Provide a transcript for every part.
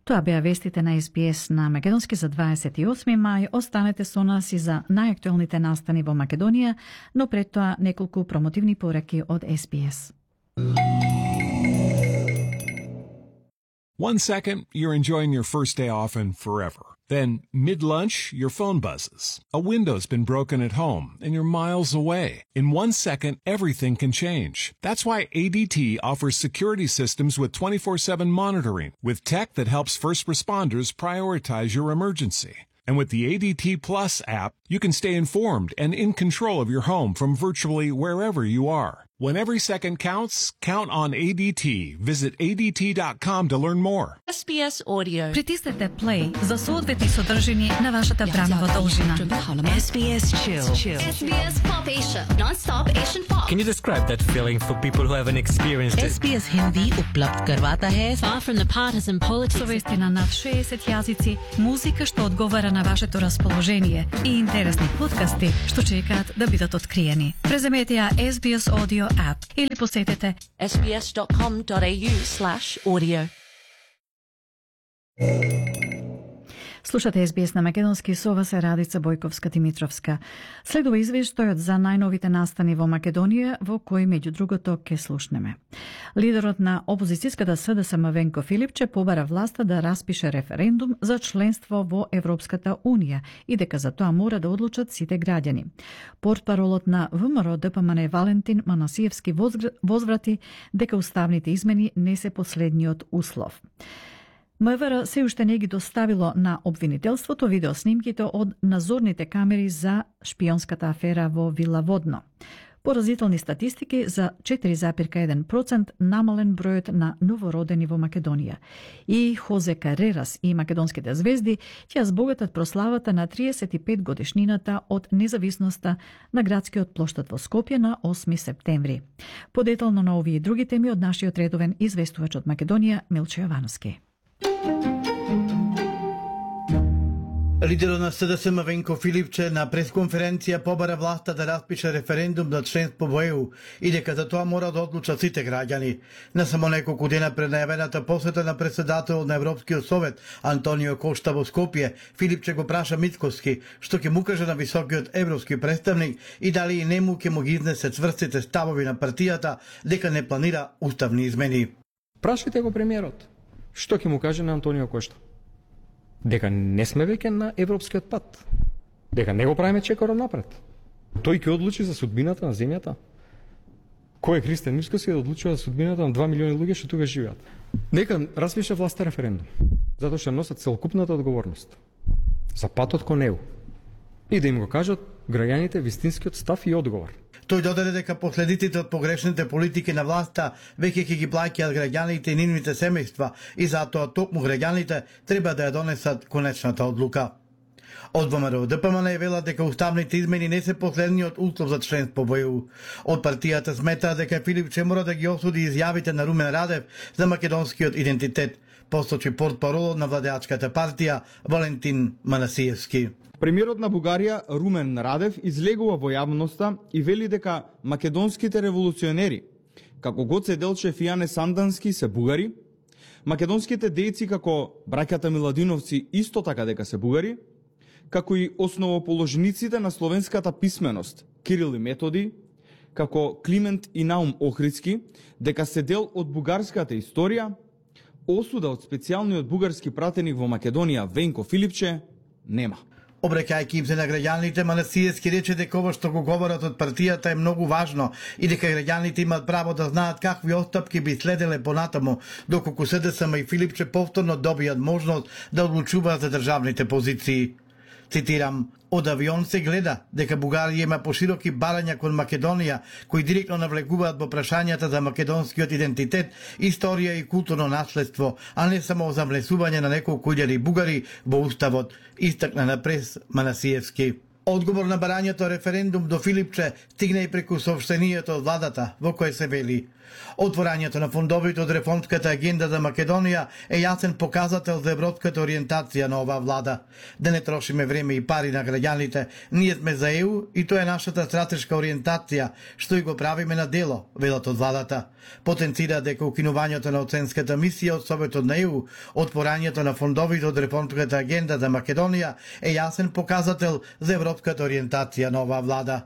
Тоа беа вестите на SBS на Македонски за 28 мај. Останете со нас и за најактуелните настани во Македонија, но пред тоа неколку промотивни пораки од SBS. 1 second, you're enjoying your first day off and forever. Then, mid-lunch, your phone buzzes. A window's been broken at home and you're miles away. In 1 second, everything can change. That's why ADT offers security systems with 24/7 monitoring, with tech that helps first responders prioritize your emergency. And with the ADT Plus app, you can stay informed and in control of your home from virtually wherever you are. When every second counts, count on ADT. Visit ADT.com to learn more. SBS Audio. Притиснете play за соодветни содржини на вашата бранова должина. SBS Chill. SBS Pop Asia, non-stop Asian pop. Can you describe that feeling for people who haven't experienced it? SBS Hindi उपलब्ध करवाता है far from the partisan politics. Со вести на над 60 јазици, музика што одговара на вашето расположение и интересни подкасти што чекаат да бидат откриени. Преземете ја SBS Audio app или посетете sbs.com.au/audio. Слушате SBS на Македонски, со вас е Радица Бојковска-Димитровска. Следува извештајот за најновите настани во Македонија, во кој меѓу другото ке слушнеме. Лидерот на опозицијската СДСМ Венко Филипче побара власта да распише референдум за членство во Европската Унија и дека за тоа мора да одлучат сите граѓани. Портпаролот на ВМРО ДПМН Валентин Манасиевски возврати дека уставните измени не се последниот услов. МВР се уште не ги доставило на обвинителството видеоснимките од надзорните камери за шпионската афера во Вила Водно. Поразителни статистики за 4,1% намален бројот на новородени во Македонија. И Хозе Карерас и македонските звезди ќе збогатат прославата на 35 годишнината од независноста на градскиот плоштад во Скопје на 8 септември. Подетално на овие и други теми од нашиот редовен известувач од Македонија Милче Јовановски. Лидерот на СДСМ Венко Филипче на пресконференција побара власта да распише референдум за членство во ЕУ и дека за тоа мора да одлучат сите граѓани. Не само неколку дена пред најавената посета на председателот на Европскиот совет Антонио Кошта во Скопје, Филипче го праша Мицкоски што ќе му каже на високиот европски представник и дали и нему ќе му ги изнесе цврстите ставови на партијата дека не планира уставни измени. Прашајте го премиерот. Што ќе му каже на Антонио Кошта? Дека не сме веќе на европскиот пат. Дека не го правиме чекорот напред. Тој ќе одлучи за судбината на земјата. Кој е Христијан Мицкоски да одлучува за судбината на 2 милиони луѓе што тука живеат? Нека распише власта референдум, затоа што носат целокупната одговорност за патот кон ЕУ и да им го кажат граѓаните вистинскиот став и одговор. Тој додаде дека последиците од погрешните политики на власта веќе ќе ги плаќаат граѓаните и нивните семејства и затоа токму граѓаните треба да ја донесат конечната одлука. Од ВМРО ДПМН велат дека уставните измени не се последниот услов за членство во ЕУ. Од партијата сметаат дека Филипче мора да ги осуди изјавите на Румен Радев за македонскиот идентитет, посочи портпаролот на владеачката партија Валентин Манасиевски. Премиерот на Бугарија Румен Радев излегува во јавноста и вели дека македонските револуционери, како Гоце Делчев и Јане Сандански, се бугари, македонските дејци како браќата Миладиновци исто така дека се бугари, како и основоположниците на словенската писменост Кирил и Методи, како Климент и Наум Охридски, дека се дел од бугарската историја. Осуда од специјалниот бугарски пратеник во Македонија Венко Филипче нема. Обраќајќи им се на граѓаните, Манасиевски рече дека ова што го говорат од партијата е многу важно и дека граѓаните имаат право да знаат какви отстапки би следеле понатаму, доколку СДСМ и Филипче повторно добијат можност да одлучуваат за државните позиции. Цитирам: "Од авион се гледа дека Бугарија има пошироки барања кон Македонија, кои директно навлегуваат во прашањата за македонскиот идентитет, историја и културно наследство, а не само за внесување на неколку илјади бугари во уставот", истакна на прес Манасиевски. Одговор на барањето референдум до Филипче стигна и преку соопштението од владата, во кое се вели: отворањето на фондовите од реформската агенда за Македонија е јасен показател за европската ориентација на оваа влада. Да не трошиме време и пари на граѓаните, ние сме за ЕУ и тоа е нашата стратешка ориентација, што и го правиме на дело, велат од владата. Потенцира дека укинувањето на оценската мисија од Советот на ЕУ, отворањето на фондовите од реформската агенда за Македонија е јасен показател за европската ориентација на оваа влада.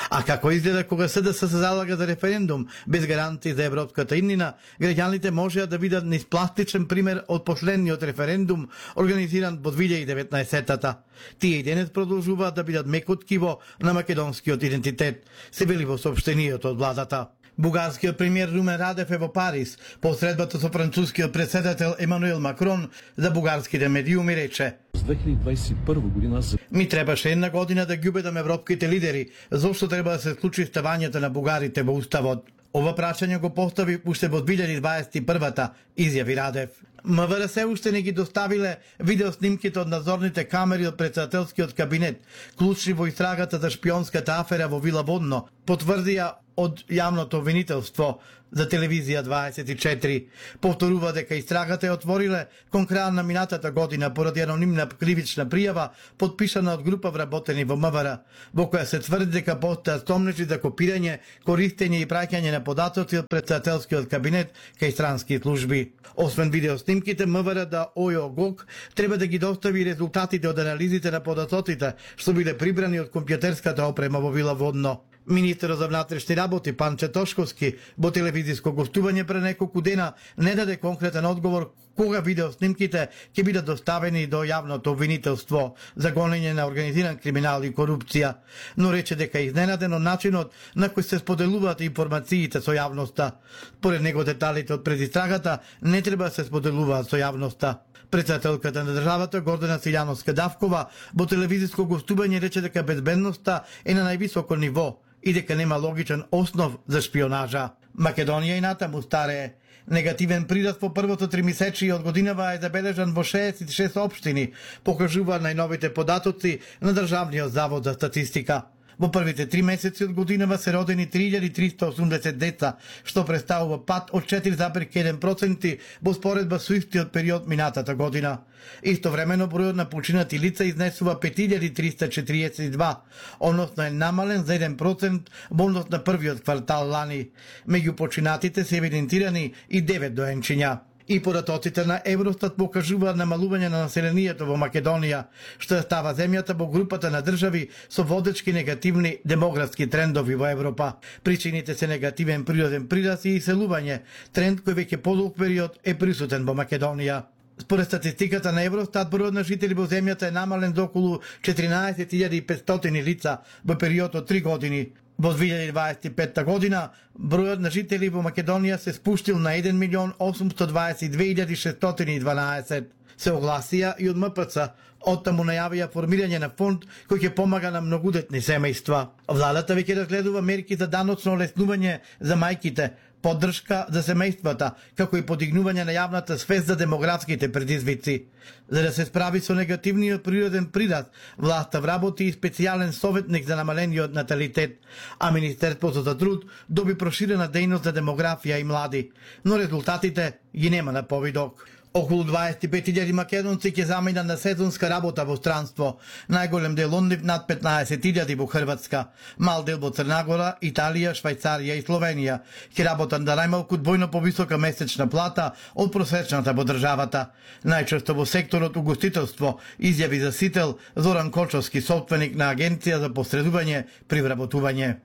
А како изгледа кога СДС се залага за референдум без гаранции за европската иднина, граѓаните можеа да видат низ пластичен пример од последниот референдум организиран во 2019-та. Тие и денес продолжуваат да бидат меко ткиво на македонскиот идентитет, се вели во соопштението од владата. Бугарскиот премиер Румен Радев е во Париз, по средбата со францускиот претседател Емануел Макрон, за бугарските медиуми рече: 2021 година ми требаше една година да ги убедам европските лидери зошто треба да се случи ставањето на бугарите во уставот. Ова прашање го постави уште во 2021-та, изјави Радев. МВР се уште не ги доставиле видеоснимките од надзорните камери од претседателскиот кабинет, клучни во истрагата за шпионската афера во Вила Водно, потврдија од јавното обвинителство за телевизија 24. Повторува дека истрагата е отвориле кон крај на минатата година поради анонимна кривична пријава подпишана од група вработени во МВР, во која се тврди дека постојат стомнежи за копирање, користење и праќање на податоци од претседателскиот кабинет кај странски служби. Освен видеоснимките, МВР да ОЈО-ГОК треба да ги достави резултатите од анализите на податоците што биле прибрани од компјутерската опрема во Вила Водно. Министерот за внатрешни работи Панче Тошковски во телевизиско гостување пред неколку дена не даде конкретен одговор кога видеоснимките ќе бидат доставени до јавното обвинителство за гонење на организиран криминал и корупција, но рече дека е изненаден од начинот на кој се споделуваат информациите со јавноста. Поред него деталите од предистрагата не треба да се споделуваат со јавноста. Претседателката на државата Гордана Силјановска-Давкова во телевизиско гостување рече дека безбедноста е на највисоко ниво и дека нема логичен основ за шпионажа. Македонија и натаму старее. Негативен прираст во првото тримесечие од годинава е забележан во 66 општини, покажуваат најновите податоци на Државниот завод за статистика. Во првите 3 месеци од годинава се родени 3380 деца, што представува пад од 4,1% во споредба со истиот период минатата година. Истовремено бројот на починати лица изнесува 5342, односно е намален за 1% во однос на првиот квартал лани. Меѓу починатите се евидентирани и 9 доенчиња. И податоците на Евростат покажуваат намалување на населението во Македонија, што става земјата во групата на држави со водечки негативни демографски трендови во Европа. Причините се негативен природен прираст и иселување, тренд кој веќе подолг период е присутен во Македонија. Според статистиката на Евростат, бројот на жители во земјата е намален до околу 14500 лица во период од 3 години. Во 2025 година, бројот на жители во Македонија се спуштил на 1.822.612. Се огласија и од МПЦ, оттаму најавија формирање на фонд кој ќе помага на многудетни семејства. Владата веќе разгледува мерки за даночно олеснување за мајките, поддршка за семејствата, како и подигнување на јавната свест за демографските предизвици. За да се справи со негативниот природен прираст, власта вработи и специјален советник за намалениот наталитет, а Министерството за труд доби проширена дејност за демографија и млади, но резултатите ги нема на повидок. Околу 25.000 македонци ќе заминат на сезонска работа во странство, најголем дел од нив над 15.000 во Хрватска, мал дел во Црнагора, Италија, Швајцарија и Словенија, ќе работат на најмалку двојно повисока месечна плата од просечната во државата. Најчесто во секторот угостителство, изјави за Сител Зоран Кочовски, собственик на агенција за посредување при вработување.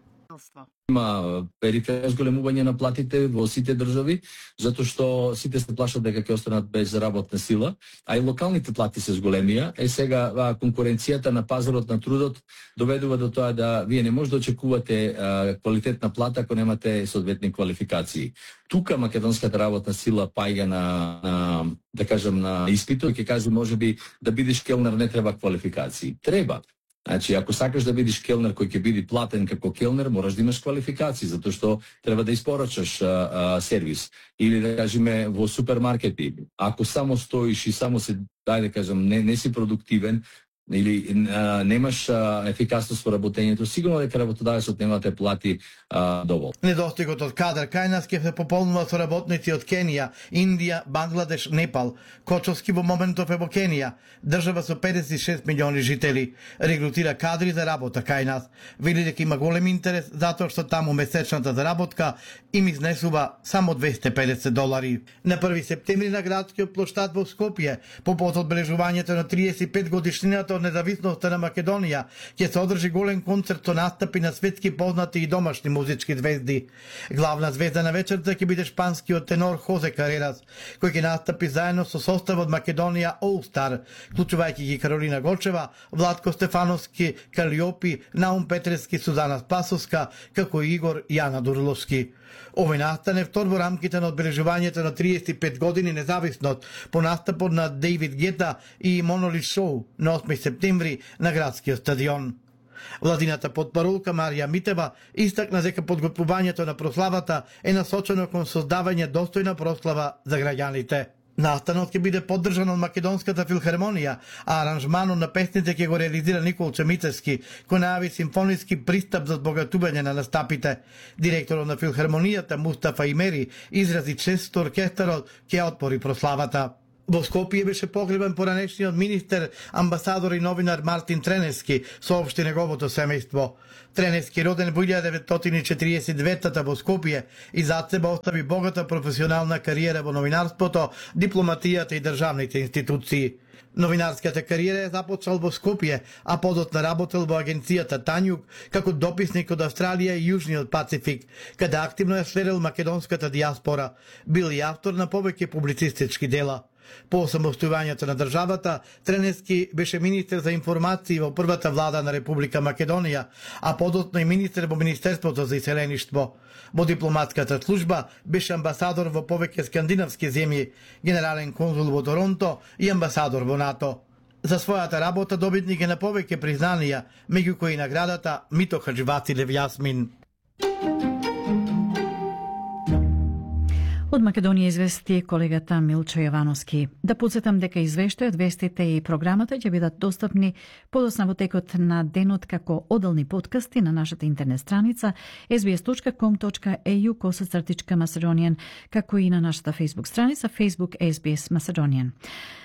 Има периферно зголемување на платите во сите држави, затоа што сите се плашат дека ќе останат без работна сила, а и локалните плати се зголемија. Сега конкуренцијата на пазарот на трудот доведува до тоа да вие не може да очекувате квалитетна плата ако немате соодветни квалификации. Тука македонската работна сила паѓа на да кажам на испитот, ќе каже можеби да бидеш келнер не треба квалификации. Треба. Значи, ако сакаш да бидеш келнер кој ќе биде платен како келнер, мораш да имаш квалификации, затоа што треба да испорачаш сервис. Или да кажеме во супермаркети, ако само стоиш и само се, дај да кажам, не си продуктивен, или немаш ефикасност во работењето, сигурно дека работодавецот нема да те плати доволно. Недостигот од кадар кај нас ќе се пополнува со работници од Кенија, Индија, Бангладеш, Непал. Кочовски во моментов е во Кенија, држава со 56 милиони жители, регрутира кадри за работа кај нас. Вели дека има голем интерес затоа што таму месечната заработка им изнесува само $250. На 1 септември на градскиот плоштад во Скопје, по повод одбележувањето на 35 годишнината од независноста на Македонија, ќе се одржи голем концерт со настапи на светски познати и домашни музички звезди. Главна звезда на вечерта ќе биде шпанскиот тенор Хозе Карерас, кој ќе настапи заедно со составот Македонија All Star, вклучувајќи ги Каролина Гочева, Владко Стефановски, Калиопи, Наум Петрески, Сузана Спасовска, како и Игор Јана Дурловски. Овој настан е втор во рамките на одбележувањето на 35 години независност по настапот на Дейвид Гета и Монолит Шоу на 8 септември на градскиот стадион. Владината потпарулка Марија Митева истакна дека подготвувањето на прославата е насочено кон создавање достојна прослава за граѓаните. Настанот ќе биде поддржан од Македонската филхармонија, а аранжманот на песните ќе го реализира Никол Чемицевски, кој најави симфониски пристап за збогатување на настапите. Директорот на филхармонијата Мустафа Имери изрази чест што оркестарот ќе отпори прославата. Во Скопје беше погребан поранешниот министер, амбасадор и новинар Мартин Треневски, соопшти неговото семејство. Треневски, роден во 1949 во Скопје, и зад себе остави богата професионална кариера во новинарството, дипломатијата и државните институции. Новинарската кариера е започнал во Скопје, а подоцна работел во агенцијата Тањук како дописник од Австралија и Јужниот Пацифик, каде активно е следел македонската диаспора. Бил и автор на повеќе публицистички дела. По самостојувањето на државата, Треневски беше министер за информации во првата влада на Република Македонија, а подоцна и министер во Министерството за иселеништво. Во дипломатската служба беше амбасадор во повеќе скандинавски земји, генерален конзул во Торонто и амбасадор во НАТО. За својата работа добитник е на повеќе признанија, меѓу кои наградата Мито Хаџиватилев Јасмин. Од Македонија извести колегата Милчо Јовановски. Да подсетам дека извештајот, вестите и програмата ќе бидат достапни подоцна во текот на денот како одделни подкасти на нашата интернет страница sbs.com.au/Macedonian, како и на нашата Facebook страница Facebook SBS Macedonian.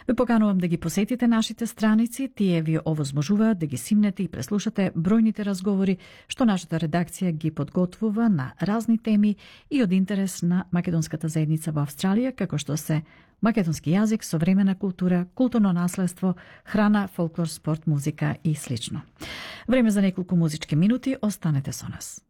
Ве поканувам да ги посетите нашите страници, тие ви овозможуваат да ги симнете и преслушате бројните разговори што нашата редакција ги подготвува на разни теми и од интерес на македонската заедница во Австралија, како што се македонски јазик, современа култура, културно наследство, храна, фолклор, спорт, музика и слично. Време за неколку музички минути, останете со нас.